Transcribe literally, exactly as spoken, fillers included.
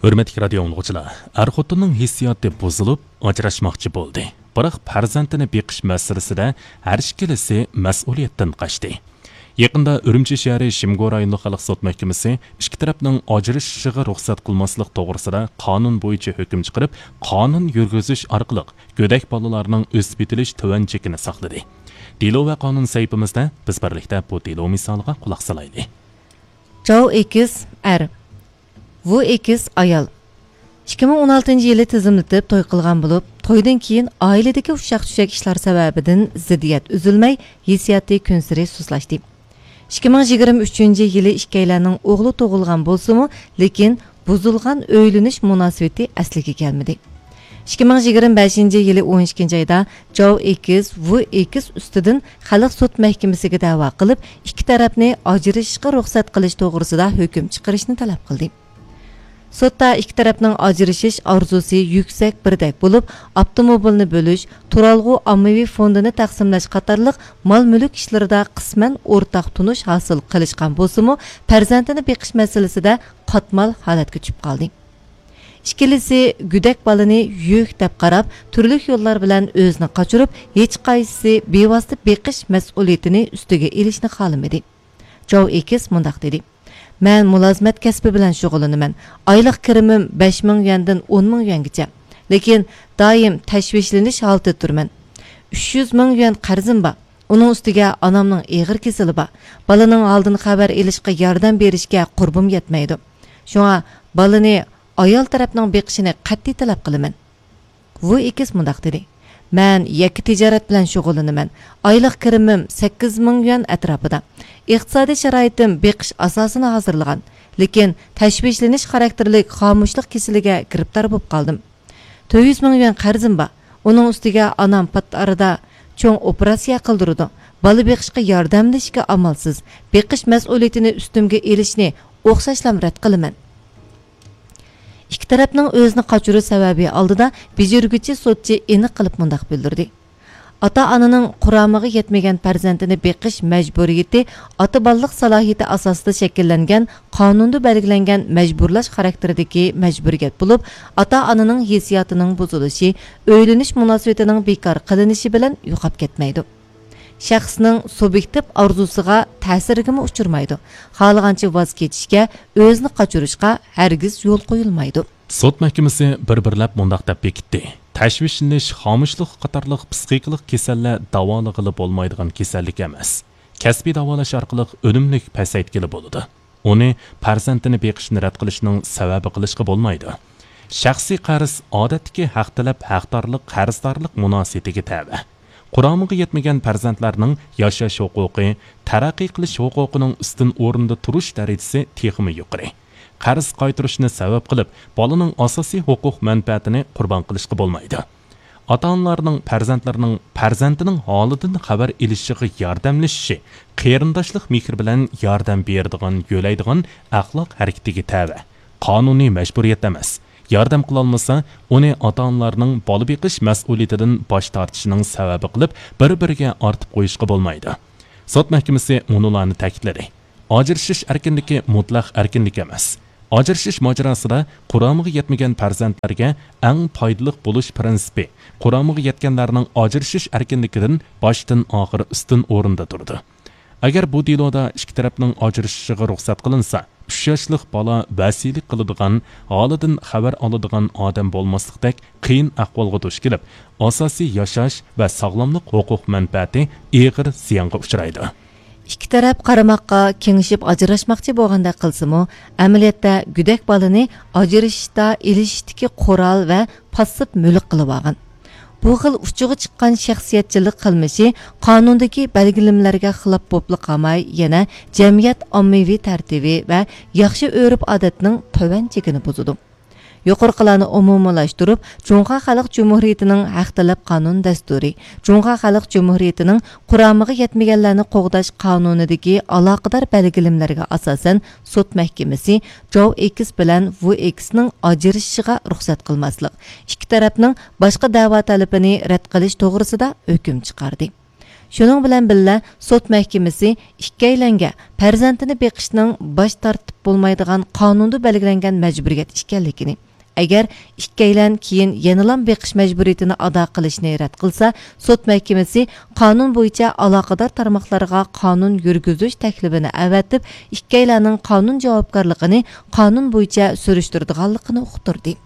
ھۆرمەتلىك رادىيو ئاڭلىغۇچىلار، ئەر-خوتۇننىڭ ھېسسىياتى بۇزۇلۇپ، ئاجراشماقچى بولدى. بىراق پەرزەنتىنى بېقىش مەسىلىسىدە ھەر ئىككىلىسى مەسئۇلىيەتتىن قاچتى. يېقىندا ئۈرۈمچى شەھىرى شىمگو رايونلۇق خەلق سوت مەھكىمىسى ئىككى تەرەپنىڭ ئاجرىشىشىغا رۇخسەت قىلماسلىق توغرىسىدا قانۇن بويىچە ھۆكۈم چىقىرىپ، قانۇن يۈرگۈزۈش ئارقىلىق گۆدەك بالىلارنىڭ ئۆسۈپ يېتىلىش تۆۋەن چېكىنى ساقلىدى. دېلو ۋە قانۇن سەھىپىمىزدە بىز بىرلىكتە بۇ دېلو مىسالىغا قۇلاق سالايلى. جاۋ ئېكىس، ئەر. ۋۇ ئېكىس، ئايال. ئىككى مىڭ ئون ئالتىنچى يىلى تىزىملىتىپ توي قىلغان بولۇپ، تويدىن كېيىن ئائىلىدىكى ئۇششاق-چۈششەك ئىشلار سەۋەبىدىن زىددىيەت ئۈزۈلمەي، ھېسسىياتى كۈنسېرى سۇسلاشتى. ئىككى مىڭ يىگىرمە ئۈچىنچى يىلى ئىككىيلەننىڭ ئوغلى تۇغۇلغان بولسىمۇ، لېكىن بۇزۇلغان ئۆيلىنىش مۇناسىۋىتى ئەسلىگە كەلمىدى. ئىككى مىڭ يىگىرمە بەشىنچى يىلى ئون ئىككىنچى ئايدا جاۋ ئېكىس، ۋۇ ئېكىس ئۈستىدىن خەلق سوت مەھكىمىسىگە دەۋا قىلىپ، ئىككى تەرەپنى ئاجرىشىشقا رۇخسەت قىلىش توغرىسىدا ھۆكۈم چىقىرىشنى تەلەپ قىلدى. سوتتا ئىككى تەرەپنىڭ ئاجرىشىش ئارزۇسى يۈكسەك بىردەك بولۇپ، ئاپتوموبىلنى بۆلۈش، تۇرالغۇ ئاممىۋى فوندىنى تەقسىملەش قاتارلىق مال-مۈلۈك ئىشلىرىدا قىسمەن ئورتاق تونۇش ھاسىل قىلىشقان بولسىمۇ، پەرزەنتىنى بېقىش مەسىلىسىدە قاتمال ھالەتكە چۈشۈپ قالدى. ئىككىلىسى گۆدەك بالىنى يۈك دەپ قاراپ، تۈرلۈك يوللار بىلەن ئۆزىنى قاچۇرۇپ، ھېچقايسىسى بىۋاسىتە بېقىش مەسئۇلىيىتىنى ئۈستىگە ئېلىشنى خالىمىدى. جاۋ ئېكىس مۇنداق دېدى: مەن مۇلازىمەت كەسپى بىلەن شۇغۇللىنىمەن. ئايلىق كىرىمىم بەش مىڭ يۈەندىن ئون مىڭ يۈەنگىچە. لېكىن دائىم تەشۋىشلىنىش ھالىتىدە تۇرىمەن. ئۈچ يۈز مىڭ يۈەن قەرزىم بار. ئۇنىڭ ئۈستىگە ئانامنىڭ ئېغىر كېسىلى بار. بالىنىڭ ھالىدىن خەۋەر ئېلىشقا ياردەم بېرىشكە قۇربۇم يەتمەيدۇ. شۇڭا بالىنى ئايال تەرەپنىڭ بېقىشىنى قەتئىي تەلەپ قىلىمەن. ۋۇ ئېكىس مۇنداق دېدى: مەن يەككە تىجارەت بىلەن شۇغۇللىنىمەن. ئايلىق كىرىمىم سەككىز مىڭ يۈەن ئەتراپىدا. ئىقتىسادىي شارائىتىم بېقىش ئاساسىنى ھازىرلىغان، لېكىن تەشۋىشلىنىش خاراكتېرلىك خامۇشلۇق كېسىلىگە گىرىپتار بولۇپ قالدىم. تۆت يۈز مىڭ يۈەن قەرزىم بار. ئۇنىڭ ئۈستىگە ئانام پات ئارىدا چوڭ ئوپېراتسىيە قىلدۇرىدۇ. بالا بېقىشقا ياردەملىشىشكە ئامالسىز. بېقىش مەسئۇلىيىتىنى ئۈستۈمگە ئېلىشنى ئوخشاشلام رەت قىلىمەن. ئىككى تەرەپنىڭ ئۆزىنى قاچۇرۇش سەۋەبى ئالدىدا بېجىرگۈچى سوتچى ئېنىق قىلىپ مۇنداق بىلدۈردى: ئاتا-ئانىنىڭ قۇرامىغا يەتمىگەن پەرزەنتىنى بېقىش مەجبۇرىيىتى ئاتا-بالىلىق سالاھىيىتى ئاساسىدا شەكىللەنگەن، قانۇندا بەلگىلەنگەن مەجبۇرلاش خاراكتېرىدىكى مەجبۇرىيەت بولۇپ، ئاتا-ئانىنىڭ ھېسسىياتىنىڭ بۇزۇلۇشى، ئۆيلىنىش مۇناسىۋىتىنىڭ بىكار قىلىنىشى بىلەن يوقاپ كەتمەيدۇ. شەخسنىڭ سۇبيېكتىپ ئارزۇسىغا تەسىرگىمۇ ئۇچرىمايدۇ. خالىغانچە ۋاز كېچىشكە، ئۆزىنى قاچۇرۇشقا ھەرگىز يول قويۇلمايدۇ. سوت مەھكىمىسى بىر-بىرلەپ مۇنداق دەپ بېكىتتى: تەشۋىشلىنىش، خامۇشلۇق قاتارلىق پىسخىكىلىق كېسەللەر داۋالىغىلى بولمايدىغان كېسەللىك ئەمەس. كەسپىي داۋالاش ئارقىلىق ئۈنۈملۈك پەسەيتكىلى بولىدۇ. ئۇنى پەرزەنتىنى بېقىشنى رەت قىلىشنىڭ سەۋەبى قىلىشقا بولمايدۇ. شەخسىي قەرز ئادەتتىكى ھەق تەلەپ، ھەقدارلىق، قەرزدارلىق مۇناسىۋىتىگە تەۋە. قۇرامىغا يەتمىگەن پەرزەنتلەرنىڭ ياشاش ھوقۇقى، تەرەققىي قىلىش ھوقۇقىنىڭ ئۈستۈن ئورۇندا تۇرۇش دەرىجىسى تېخىمۇ يۇقىرى. قەرز قايتۇرۇشنى سەۋەب قىلىپ، بالىنىڭ ئاساسىي ھوقۇق مەنپەئەتىنى قۇربان قىلىشقا بولمايدۇ. ئاتا-ئانىلارنىڭ پەرزەنتلىرىنىڭ پەرزەنتىنىڭ ھالىدىن خەۋەر ئېلىشىغا ياردەملىشىشى قېرىنداشلىق مېھرى بىلەن ياردەم بېرىدىغان، يۆلەيدىغان ئەخلاق ھەرىكىتىگە تەۋە. قانۇنىي مەجبۇرىيەت ئەمەس. ياردەم قىلالمىسا، ئۇنى ئاتا-ئانىلارنىڭ بالا بېقىش مەسئۇلىيىتىدىن باش تارتىشىنىڭ سەۋەبى قىلىپ، بىر-بىرىگە ئارتىپ قويۇشقا بولمايدۇ. سوت مەھكىمىسى مۇنۇلارنى تەكىتلىدى: ئاجرىشىش ئەركىنلىكى مۇتلەق ئەركىنلىك ئەمەس. ئاجرىشىش ماجىراسىدا قۇرامىغا يەتمىگەن پەرزەنتلەرگە ئەڭ پايدىلىق بولۇش پىرىنسىپى، قۇرامىغا يەتكەنلەرنىڭ ئاجرىشىش ئەركىنلىكىدىن باشتىن ئاخىر ئۈستۈن ئورۇندا تۇرىدۇ. ئەگەر بۇ دېلودا ئىككى تەرەپنىڭ ئاجرىشىشىغا رۇخسەت قىلىنسا، ئۈچ ياشلىق بالا ۋەسىيلىك قىلىدىغان، ھالىدىن خەۋەر ئالىدىغان ئادەم بولماسلىقتەك قىيىن ئەھۋالغا دۇچ كېلىپ، ئاساسىي ياشاش ۋە ساغلاملىق ھوقۇق مەنپەئەتى ئېغىر زىيانغا ئۇچرايدۇ. ئىككى تەرەپ قارىماققا، كېڭىشىپ ئاجراشماقچى بولغاندەك قىلسىمۇ، ئەمەلىيەتتە گۆدەك بالىنى ئاجرىشىشتا ئېلىشىشتىكى قورال ۋە پاسسىپ مۈلۈك قىلىۋالغان. بۇ خىل ئۇچىغا چىققان شەخسىيەتچىللىك قىلمىشى قانۇندىكى بەلگىلىمىلەرگە خىلاپ بوپلا قالماي، يەنە جەمئىيەت ئاممىۋى تەرتىپى ۋە ياخشى ئۆرپ-ئادەتنىڭ تۆۋەن چېكىنى بۇزىدۇ. يۇقىرىقىلارنى ئومۇمىيلاشتۇرۇپ، جۇڭخۇا خەلق جۇمھۇرىيىتىنىڭ ھەق تەلەپ قانۇن دەستۇرى، جۇڭخۇا خەلق جۇمھۇرىيىتىنىڭ قۇرامىغا يەتمىگەنلەرنى قوغداش قانۇنىدىكى ئالاقىدار بەلگىلىمىلەرگە ئاساسەن، سوت مەھكىمىسى جاۋ ئېكس بىلەن ۋۇ ئېكسنىڭ ئاجرىشىشىغا رۇخسەت قىلماسلىق، ئىككى تەرەپنىڭ باشقا دەۋا تەلىپىنى رەت قىلىش توغرىسىدا ھۆكۈم چىقاردى. شۇنىڭ بىلەن بىللە، سوت مەھكىمىسى ئىككىيلەنگە پەرزەنتىنى بېقىشنىڭ باش تارتىپ بولمايدىغان قانۇندا بەلگىلەنگەن مەجبۇرىيەت ئىكەنلىكىنى، ئەگەر ئىككىيلەن كېيىن يەنىلا بېقىش مەجبۇرىيىتىنى ئادا قىلىشنى رەت قىلسا، سوت مەھكىمىسى قانۇن بويىچە ئالاقىدار تارماقلارغا قانۇن يۈرگۈزۈش تەكلىپىنى ئەۋەتىپ، ئىككىيلەننىڭ قانۇن جاۋابكارلىقىنى قانۇن بويىچە سۈرۈشتۈرىدىغانلىقىنى ئۇقتۇردى.